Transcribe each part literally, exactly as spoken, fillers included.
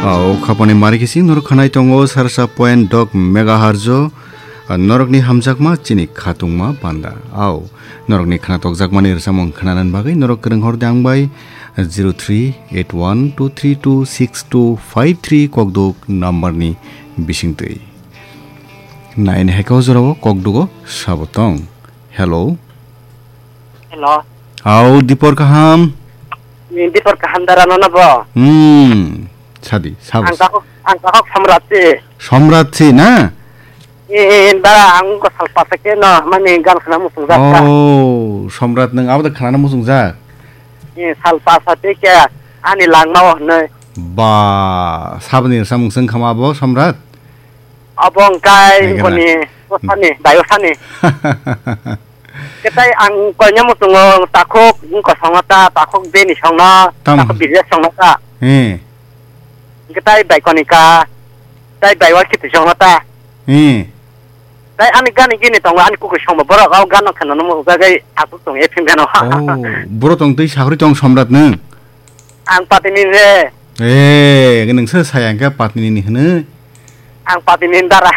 Au, khapani mari kisi norok khanai tongo sarsa point dok megahertz o, norokni hamjakma chini khatungma panda. Au, norokni khana tokjakmani rwchapmung khananani bagwi norok kwrwng hor de ang bai zero three eight one two three two six two five three kokduk number ni bisingtwi. Nine heko jorao kokdugo sabo tong. Hello. Hello. Au, Dipor kaham? Ni Dipor kaham dara nono bo? Hmm, sadi, sabo. Ang kakok, ang kakok Samrat si. Samrat si na? Eh, eh, dara ang ko salpa sake no, mani gan khana musung jak ka. Oh, Samrat nang abo da khana musung jak? Eh, salpa sate ke ani langma o hwnwi. Ba, sabni samung sung khama bo Samrat? Abo wngkai Nai gana. Boni bosani, bayosani. Ketai ang koinai muchungo takhuk wngkha songno ta, takhuk bini songno, Tam- takhuk bijak songno ta. Eh. Ketai bai konika, tai bai wa khitu songno ta. Eh. Tai ani gani gini tongo, ani kukui songbo borok, o gano kheno nomo ujagai asuk tong e phim gano. Oh, boro tong twi sakri tong Samrat nung. Ang patini re. Eh, nung se saya ke patini ni hne. Ang patini dara.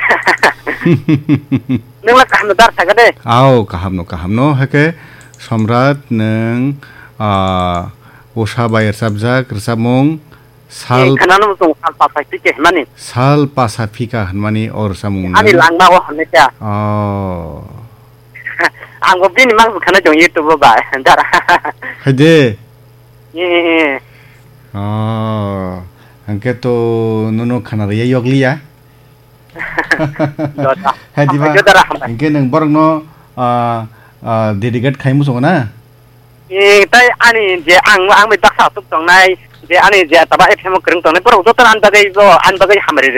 Nung la kaham dar saga de. Au, kaham no, kaham no, hake Samrat nung, ah, usa bai rwchapjak, rwchapmung, sal- Eh, khana no tong sal pasa phika hwnmani. Sal pasa phika hwnmani o rwchapmung ani nung. Langma o hwnwi kha. Oh. Ang bo bini mang khana tong YouTube o ba, dara. Hai de. Eh, eh, eh. Oh, hwnkhe to nono khana rwya yokliya. Dota. Hai diba? Hambai, dara, hambai. Hwnkhe nwng borokno, ah, ah, dedicate khai muchungo na? Eh, tai ani je ang, ang bai baksa asuk tongnai, je ani je taba F M o kwrwng tongnai, borok joto ani bagwi bo, ani bagwi hamari